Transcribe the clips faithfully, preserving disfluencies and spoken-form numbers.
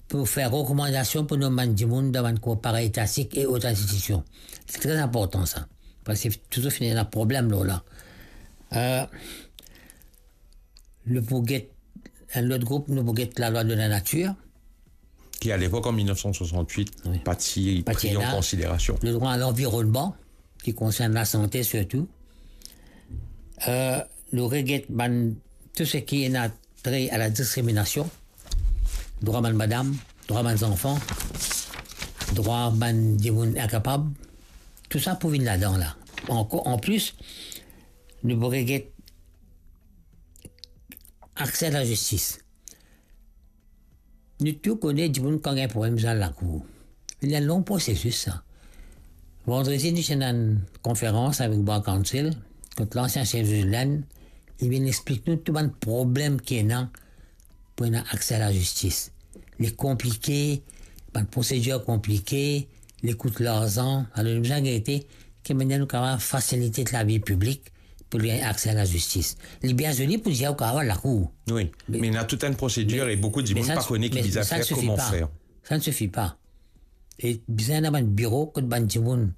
pou fer rekomandasion pou nom bann dimoun dan bann kor paraetatik e ot institision. Se tre inportan sa, parski touzour finn ena problem lor la. Euh, nou pou get, enn lot group, nou pou get lalwa de la natir. Ki, a lepok, an mil nef san swasant-wit, wi, pa ti pri an konsiderasion. Ledrwa a lanvironnman, ki konsern lasante sirtou. Euh, nou reget bann, tou seki ena tre a la diskriminasion, drwa bann madam, drwa bann zanfan, drwa bann dimoun inkapab, tou sa pou vinn ladan la. Ankor, anplis, nou pou reget akse a lazistis. Nou tou kone dimoun kan gagn problem, li al lakour. Li enn long prosesis, sa. Vandredi, nou ti ena enn konferans avek Bar Council, kot lansien sef de Linn, li vinn explik nou tou bann problem ki ena pou ena akse a lazistis. Li konplike, bann prosedir konplike, li kout larzan. Alor, nou bizin gete ki manier nou kapav fasilite lavi piblik pou li gagn akse a lazistis. Li bien zoli pou dir ou kapav al lakour. Wi, me, me ena tou enn prosedir, me, e boukou dimoun pa kone ki bizin fer, kouma fer. Sa ne sifi pa. E bizin ena bann biro kot bann dimoun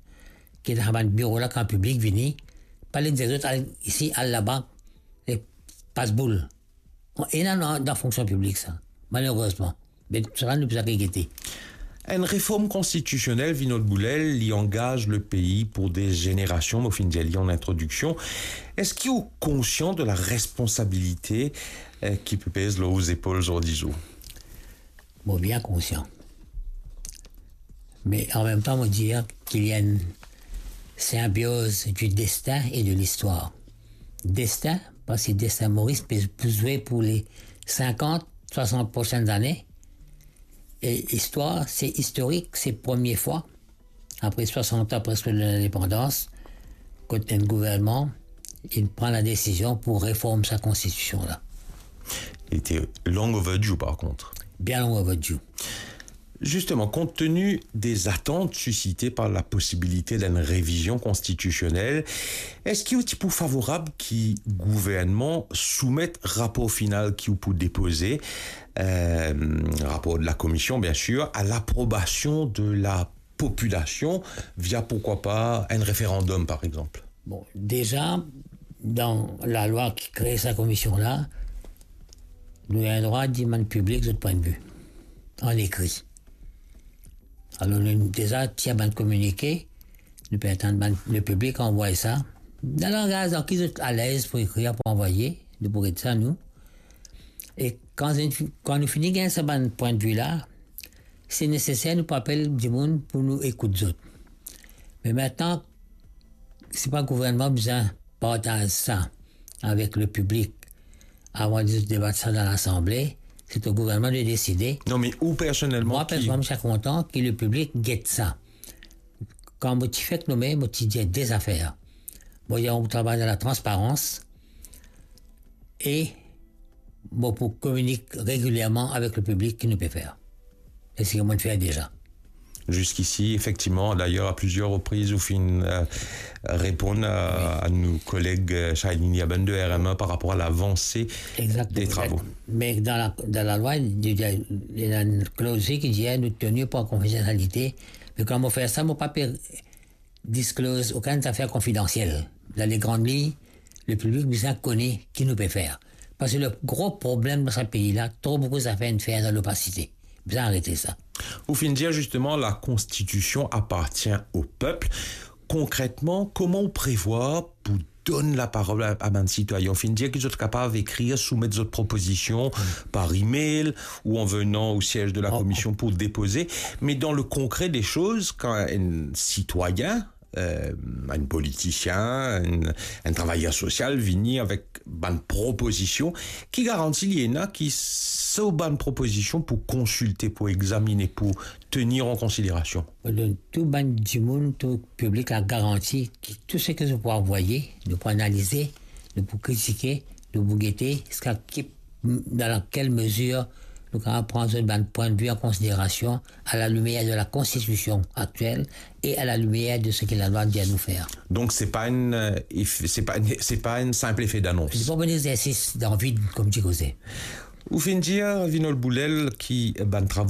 ki dan bann biro la, kan piblik vini, pa les dir zot al isi, al laba, e pas boul. Ena dan, dan fonksion piblik sa, malerezman. Me sa, nou pou sa gete. Enn reform konstitisionel, Vinod Boulel, li angaz lepei pou de zenerasion, mo finn dir li an introdiksion. Eski ou konsian de la responsabilite, eh, ki pe pez lor ou zepol zordi zour? Mo bien konsian. Me an mem tan, mo dir ki li enn sinbioz du destin et de l'histoire. Destin, parski destin Moris pe pou zwe pou le sinkant, swasant prosenn zane. E istwar, se istorik, se premie fwa, apre swasant an preske de lindepandans, kot enn gouvernman, li pran la desizion pou reform sa konstitision la. Li te long overdue, par kont. Bien long overdue. Justement, compte tenu des attentes suscitées par la possibilité d'une révision constitutionnelle, eski ou ti pou favorab ki gouvernman soumet rapor final ki ou pou depoze, euh, rapor de la komision, bien sir, a laprobasion de la popilasion via, pourquoi pas, enn referandom, par exanp? Bon, deza, dan lalwa ki kre sa komision la, nou ena drwa dimann piblik zot pwin de vi an ekri. Alor, nou deza tir bann kominike, nou pe atann bann, lepiblik anvway sa. Dan langaz dan ki zot alez pou ekrir, pou anvoye, nou pou get sa, nou. E kan, kan nou fini gagn sa bann pwin de vi la, si neseser, nou pou apel dimoun pou nou ekout zot. Me mintnan, si pa gouvernman bizin partaz sa avek lepiblik avan de debat sa dan Lasanble, se to gouvernman de deside. Non, me ou personelman, mwa ki personelman, mo ti kontan ki lepiblik get sa. Kan mo ti fek nome, mo ti dir de zafer. Mo dir, nou travay dan latransparans e mo pou kominik regilierman avek lepiblik ki nou pe fer. E seki mo fer deza. Jusqu'ici, effectivement, d'ailleurs, à plusieurs reprises, ou finn, euh, reponn a, wi, a nou koleg, euh, Shailene Yaben de R M un par rapport à l'avancée, exactement, des travaux. Me dan la, dan lalwa, li, li, li ena enn kloz ki dir nou teni par konfidansialite. Me kan mo fer sa, mo pa pe disclose okenn zafer konfidansiel. Dan le grann lign, lepiblik bizin kone ki nou pe fer. Parski le gro problem dan sa pei la, tro boukou zafer inn fer dan lopasite. Bizin aret sa. Ou finn dir, justement, la Constitution appartient au peuple. Konkretman, kouma ou prevwar pou donn laparol a, a bann sitwayin? Ou finn dir ki zot kapav ekrir, soumet zot propozision, hmm, par email ou en venant au siège de la, oh, commission pour déposer. Mais dans le concret des choses, kan enn sitwayin, euh, enn politisien, enn, enn travayer sosial vini avek bann propozision, ki garanti li ena ki so bann propozision pou konsilte, pou examine, pou tenir an konsiderasion? Mo donn tou bann dimoun, tou piblik la garanti ki tou seki zot pou anvoye, nou pou analize, nou pou kritike, nou pou gete, ziska ki, dan kel mezir nou kapav pran zot bann pwin de vi an konsiderasion, à la lumière de la Constitution actuelle et à la lumière de ce que la loi dit à nous faire. Donk, se pa enn, euh, efe, se pa enn, se pa enn sinp efe danons. Se pa enn exersis dan vid, kouma ti koze. Ou finn dir, Vinod Boulel, ki bann travo